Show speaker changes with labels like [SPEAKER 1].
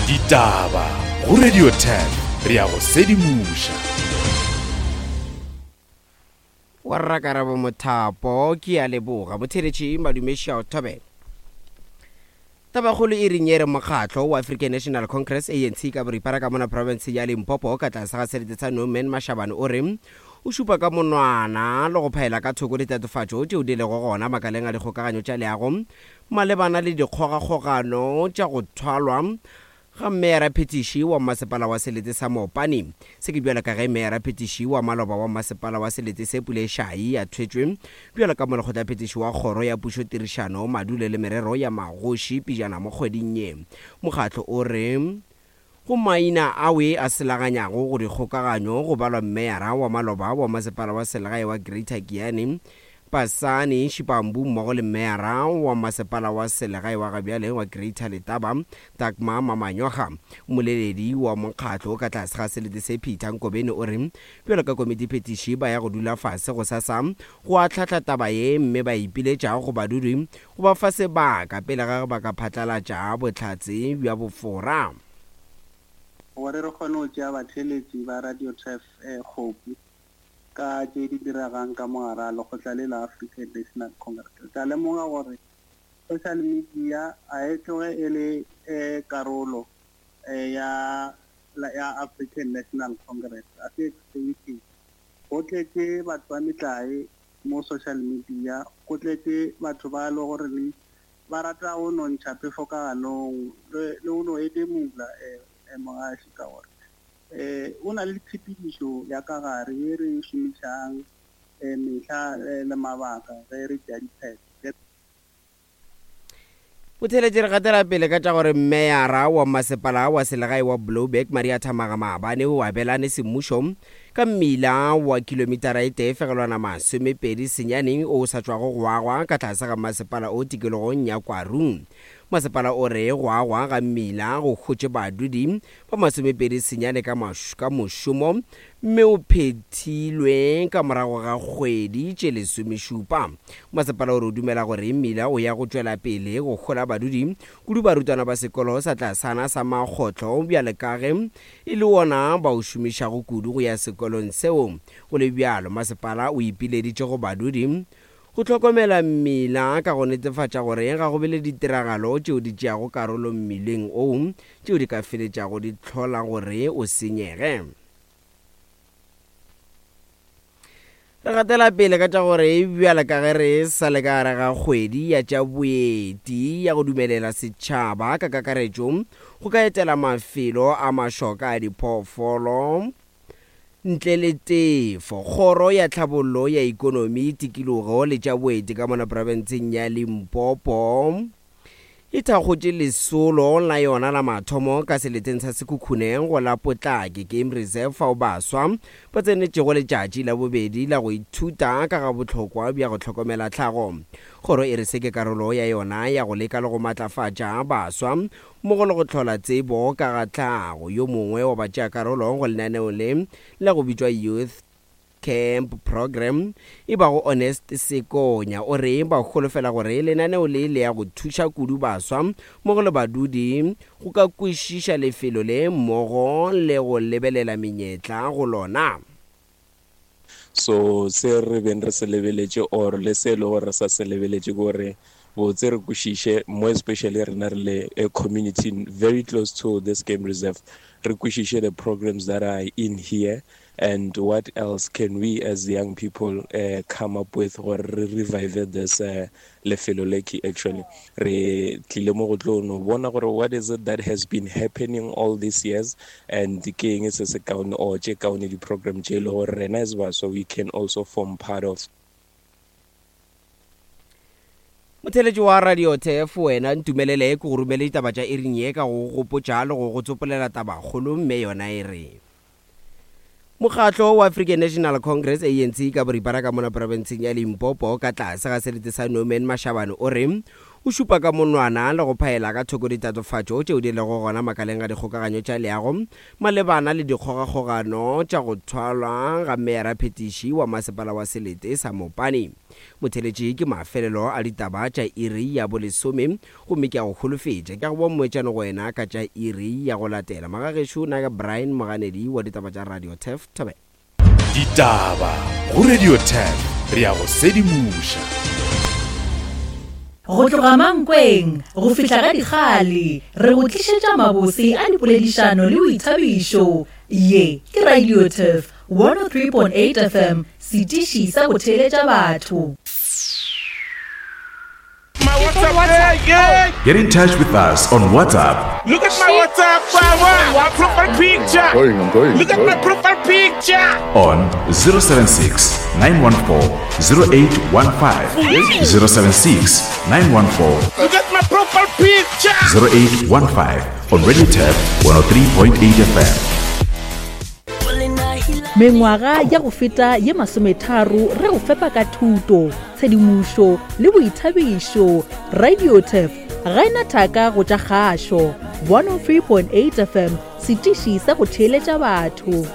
[SPEAKER 1] Ditaba go Radio 10 re ya go sedimoša.
[SPEAKER 2] Wa Rrakarabo Mothapo, ke a leboga. Motheeletši Madume Shao Thobela. Tabakgolo e reng e re mokgatlo wa African National Congress, ANC, ka boripana ka mona profense ya Limpopo ka tlase ga selete sa Norman Mashabane o re o šupa ka monwana le go phaela ka thoko ditatofatšo tšeo di lego gona makaleng a dikgokaganyo tša leago malebana le dikgogakgogano tša go thwalwa ga meyara-phetiši wa mmasepala wa selete sa Mopani. Se ke bjalo ka ge meyara-phetiši wa maloba wa mmasepala wa selete se Pule Shai a thwetšwe bjalo ka molekgotla-phetiši wa kgoro ya pušo tirišano, madulo le merero ya magoši pejana mo kgweding ye. Mokgatlo o re go maina awe a selaganyago go dikgokaganyo go balwa mmeyara wa maloba wa masepala wa selegae wa Greater Giyani, Pasani Shipambu mmogo le Meyara wa Masepala wa Selegae wa gabjale wa Greater Letaba, Dagmar Mamanyoga. Mmoleledi wa mokgatlo ka tlase ga selete se Peter Nkobeni o re bjalo ka komitiphethiši ba ya go dula fase gosasa go ahlahla taba ye mme ba ipiletša go badudi go ba fa sebaka pele ga ge ba ka phatlalatša bohlatse bja bofora.
[SPEAKER 3] Gore re kgone go tšea batheeletši ba Radio Turf kgopu ka tše di diregang ka mo gare ga lekgotla le la African National Congress. Re tla lemoga gore social media ga e tloge e le karolo ya ya African National Congress, ga se extension. Go tletše batho ba metlae mo social media, go tletše batho ba e le gore ba rata go no ntšha phefo ka ganong le go no edemula mogaši ka gore O na le tshepedišo ya ka gare ye re e šomišang mehla le mabaka ge re tšea diphetho.
[SPEAKER 2] Botheeletši re gatela pele ka tša gore Meyara wa Masepala wa Selegae wa Blouberg Maria Thamaga maabane o abelane semmušo ka mmila wa kilomitara e tee fegelwana 29 o o sa tšwago go agwa ka tlase ga masepala o tikologong ya Kwarung. Masepala o re go agwa ga mmila go hotše badudi ba 29 ka ka mošomo mme o phethilwe ka morago ga kgwedi tše lesomešupa. Masepala o re o dumela gore mmila o ya go tšwela pele go hola badudi, kudu barutwana ba sekolo sa tlasana sa Makgotlo bjale ka ge e le wona ba o šomišago kudu go ya sekolong seo. Go le bjalo, masepala o ipileditše go badudi Go hlokomela mmila ka go netefatša gore ga go be le ditiragalo tšeo di tšeago karolo mmileng oo tšeo di ka feletšago di hlola gore o senyege. Re gatela pele ka tša gore bjale ka ge re sa le ka gare ga kgwedi ya tša boeti ya go dumelela setšhaba ka kakaretšo go ka etela mafelo a mašoka a diphoofolo, Ntle le tefo, Kgoro ya Tlhabollo ya Ikonomi, Tikilogo le tša Boeti ka mona profenseng ya Limpopo e thakgotše lesolo la yona la mathomo ka seleteng sa Sekhukhune go la Potlake Game Reserve fao baswa ba tsenetšego letšatši la bobedi la go ithuta ka ga bohlokwa bja go hlokomela tlhago. Kgoro e re se ke karolo ya yona ya go leka le go matlafatša baswa mmogo le go hlola tsebo ka ga tlhago. Yo mongwe wa batšeakarolo go lenaneo le la go bitšwa Youth Camp Programme e bago Honest Sekonya o re ba holofela gore lenaneo le le ya go thuša kudu baswa mmogo le badudi go ka kwešiša lefelo le mmogo le go lebelela menyetla go lona.
[SPEAKER 4] So se re beng re se lebeletše or le se e le gore re sa se lebeletše ke gore botse re kwešiše more especially rena re le a community very close to this game reserve re kwešiše the programs that are in here and what else can we as young people uh, come up with gore re revive this uh, lefelo le ke actually re tlile mo go tlo no bona gore what is it that has been happening all these years and ke eng se se kaone or tše kaone di-program tše e le gore rena as baswa we can also form part of.
[SPEAKER 2] Motheeletši wa Radio Turf, wena ntumelele ke go romele ditaba tša iring ye ka go go gopotša le go go tsopolela tabakgolo mme yona e re. Mokgatlo wa African National Congress, ANC, ka boripana ka mona profenseng ya Limpopo ka tlase ga selete sa Norman Mashabane o re O šupa ka monwana le go phaela ka thoko ditatofatšo tšeo di lego gona makaleng a dikgokaganyo tša leago malebana le dikgogakgogano tša go thwalwa ga meyara-phetiši wa masepala wa selete sa Mopani. Motheeletši ke mafelelo a ditaba tša iri ya bolesome gomme ke a go holofetša ke a go boa mmoetšano go wena ka tša iri ya go latela. Magagešo na ke Brian Moganedi wa ditaba tša Radio Turf Thobela.
[SPEAKER 1] Ditaba go Radio 10 re a go sedimoša.
[SPEAKER 5] Go tloga Mankweng go fihla ga Dikgale, re go tlišetša mabose a dipoledišano le boithabišo. Ye ke Radio Turf 103.8 FM, setiši sa go theeletša batho.
[SPEAKER 6] My WhatsApp, yeah, yeah.
[SPEAKER 7] Get in touch with us on WhatsApp.
[SPEAKER 6] Look at my WhatsApp, my, my profile picture.
[SPEAKER 8] Going, I'm going.
[SPEAKER 6] Look at my profile picture.
[SPEAKER 7] On 076 914 0815. 076 914
[SPEAKER 6] Look at my profile picture.
[SPEAKER 7] 0815 on Radio Tab 103.8 FM.
[SPEAKER 5] Mengwaga ya go feta ye masometharo re go fepa ka thuto, tshedimošo le boithabišo. Radiotef ga e na thaka go tša kgašo. 103.8 FM, setiši sa go theeletša batho.